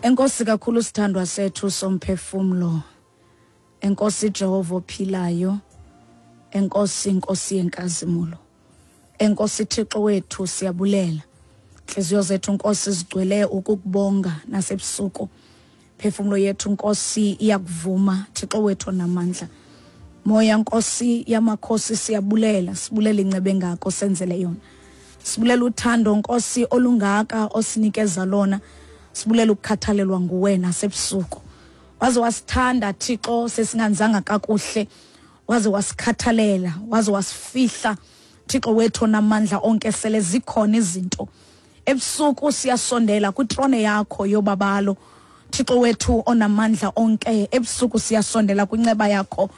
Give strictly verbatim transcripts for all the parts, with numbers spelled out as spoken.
Enkosi kakhulu sithandwa sethu somphefumlo. Enkosi Jehova ophilayo. Enkosi Nkosi yenkazimulo. Enkosi Thixo wethu, siyabulela. Inhliziyo zethu, Nkosi, zigcwele ukukubonga nasebusuku. Phefumulo yethu, Nkosi, iyakuvuma, Thixo wethu onamandla. Moya Nkosi yamakhosi, siyabulela, sibulela incebe ngako senzele yona. Sibulela uthando, Nkosi, olungaka osinikeza lona. Sibulela ukukhathalelwa nguwena sebusuku. Waze wasithanda, Thixo, sesinganzanga kakuhle. Waze wasikhathalela, waze wasifihla, Thixo wethu onamandla onke, sele zikhona izinto. Ebusuku siyasondela kwitrone yakho yobabalo, Thixo wethu onamandla onke. Ebusuku siyasondela kwinceba yakho.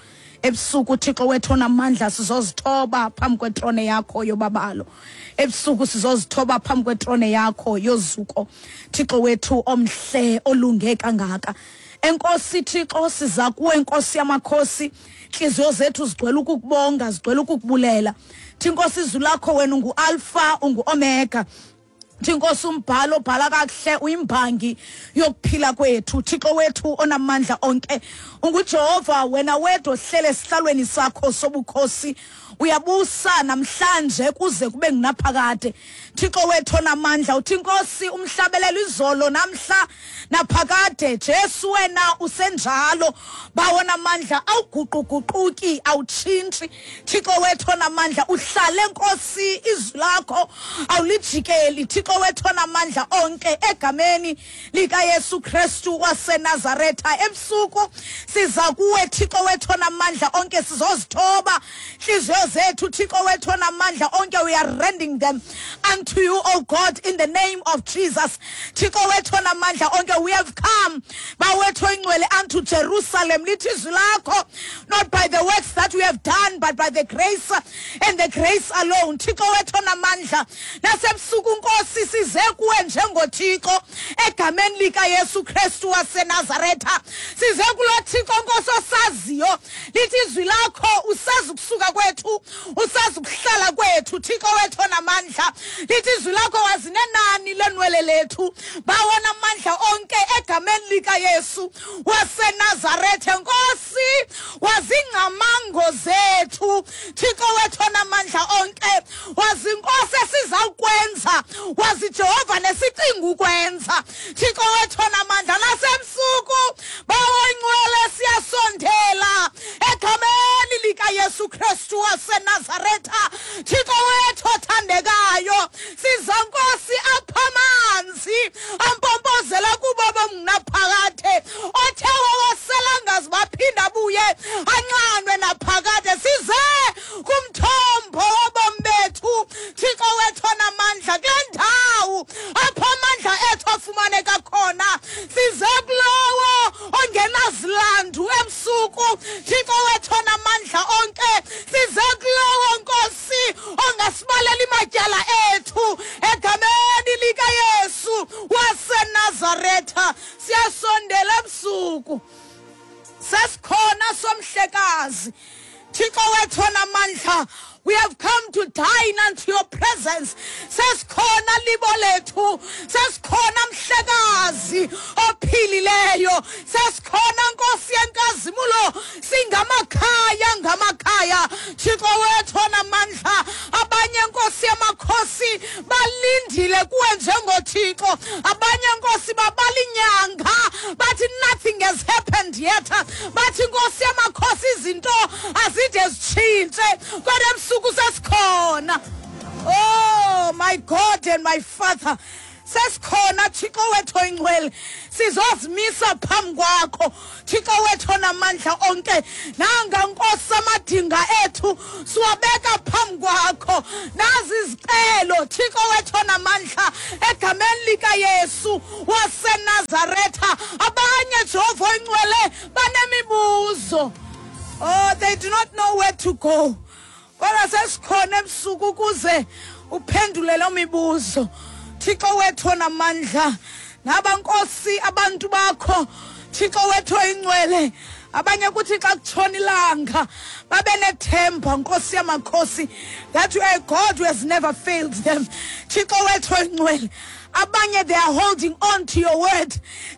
Ebusuku, Thixo wethu onamandla, sizozithoba phambi kwetrone yakho yobabalo. Ebusuku sizozithoba phambi kwetrone yakho yozuko, Thixo wethu omhle olunge kangaka. Enkosi Thixo, siza kuwe, Nkosi yamakhosi. Inhliziyo zethu zigcwele ukukubonga, zigcwele ukukubulela. Thinkosi, izwi lakho, wena ungu-Alpha, ungu-Omega. Thinkosi, umbhalo obhala kakuhle, uyimbangi yokuphila kwethu, Thixo wethu onamandla onke. UnguJehova wena wedwa ohlele esihlalweni sakho sobukhosi, uyabusa namhlanje kuze kube ngunaphakade, Thixo wethu onamandla. Uthi Inkosi umhlabelelo, izolo, namhla, naphakade, Jesu wena usenjalo. Bawona amandla, awuguquguquki, awutshintshi, Thixo wethu onamandla. Uhlale, Nkosi, izwi lakho awulijikeli, Thixo wethu onamandla onke, egameni likaYesu Kristu waseNazaretha. Ebusuku siza kuwe, Thixo wethu onamandla onke, sizozithoba inhliziyo zethu, Thixo wethu onamandla onke. We are rending them unto you, O God, in the name of Jesus. Thixo wethu onamandla onke, we have come, Bawethu oyingcwele, unto Jerusalem. Lithi izwi lakho, not by the works that we have done, but by the grace and the grace alone. Thixo wethu onamandla, nasebusuku, Nkosi, size kuwe njengoThixo, egameni likaYesu Kristu waseNazaretha. Size kulo Thixo, Nkosi, osaziyo. Lithi izwi lakho, usazi ukusuka kwethu, usazi ukuhlala kwethu, Thixo wethu onamandla. Lithi izwi lakho, wazinenani lenwele lethu. Bawona amandla onke, egameni likaYesu waseNazaretha, Nkosi, wazingcamango zethu, Thixo wethu onamandla onke. Wazi, Nkosi, esizawukwenza, wazi, Jehova, nesicinga ukwenza, Thixo wethu onamandla. Nasemsuku, Bawo ingcwele, siyasondela egameni likaYesu Kristu waseNazaretha. Thixo wethu othandekayo, siza, Nkosi, apha amanzi ampompozela kubo bomnaphakade, othe wawasela ngazi baphinda abuye anxanwe naphakade. Size kumthombo wobomi bethu, Thixo wethu onamandla, kule ndawo apho amandla ethu afumaneka khona. Size kulowo ongenazilandu ebusuku, Thixo wethu onamandla onke. Size kulowo, Nkosi, ongasibalela imatyala ethu, egameni likaYesu waseNazaretha. Siyasondela ebusuku, sesikhona somhlekazi, Thixo wethu onamandla. We have come to dine unto your presence. Sesikhona libo lethu, sesikhona mhlekazi ophilileyo, sesikhona Nkosi yenkazimulo, singamakhaya ngamakhaya, Thixo wethu onamandla. Abanye, Nkosi yamakhosi, balindile kuwe njengoThixo. Abanye, Nkosi, babala inyanga, bathi nothing has happened yet. Bathi, Nkosi yamakhosi, izinto azide zitshintshe, kodwa ebusuku sesikhona. Oh my God and my Father, sesikhona, Thixo wethu oyingcwele, sizozimisa phambi kwakho, Thixo wethu onamandla onke. Nanga, Nkosi, amadinga ethu siwabeka phambi kwakho. Nazi izicelo, Thixo wethu onamandla, egameni likaYesu waseNazaretha. Abanye, Jehova oyingcwele, banemibuzo. Oh, they do not know where to go, kodwa sesikhona ebusuku ukuze uphendule loo mibuzo, Thixo wethu onamandla. Naba, Nkosi, abantu bakho, Thixo wethu oyingcwele. Abanye kuthi xa kutshona ilanga babe nethemba, Nkosi yamakhosi, that you are a God who has never failed them, Thixo wethu oyingcwele. Abanye, they are holding on to your word.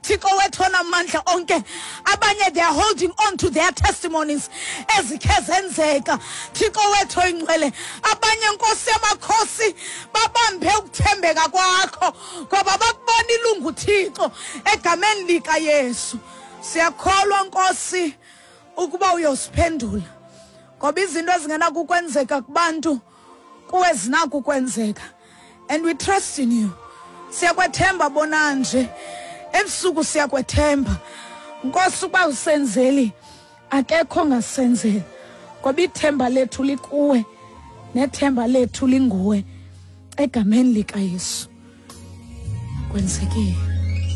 Thixo wethu onamandla onke. Abanye, they are holding on to their testimonies ezikhe zenzeka. Thixo wethu oyingcwele. Abanye, Nkosi yamakhosi, babambe ukuthembeka kwakho ngoba bakubona ilungu, Thixo, egameni lika Yesu. Siyakholwa, Nkosi, ukuba uyosiphendula, ngoba izinto ezingenakukwenzeka kubantu kuwe zinako ukwenzeka, and we trust in you. Siyakwethemba bona nje ebusuku, siyakwethemba, Nkosi, ukuba usenzeli akekho ongasenzeli, ngoba ithemba lethu likuwe nethemba lethu linguwe. Egameni likaYesu kwenzekile.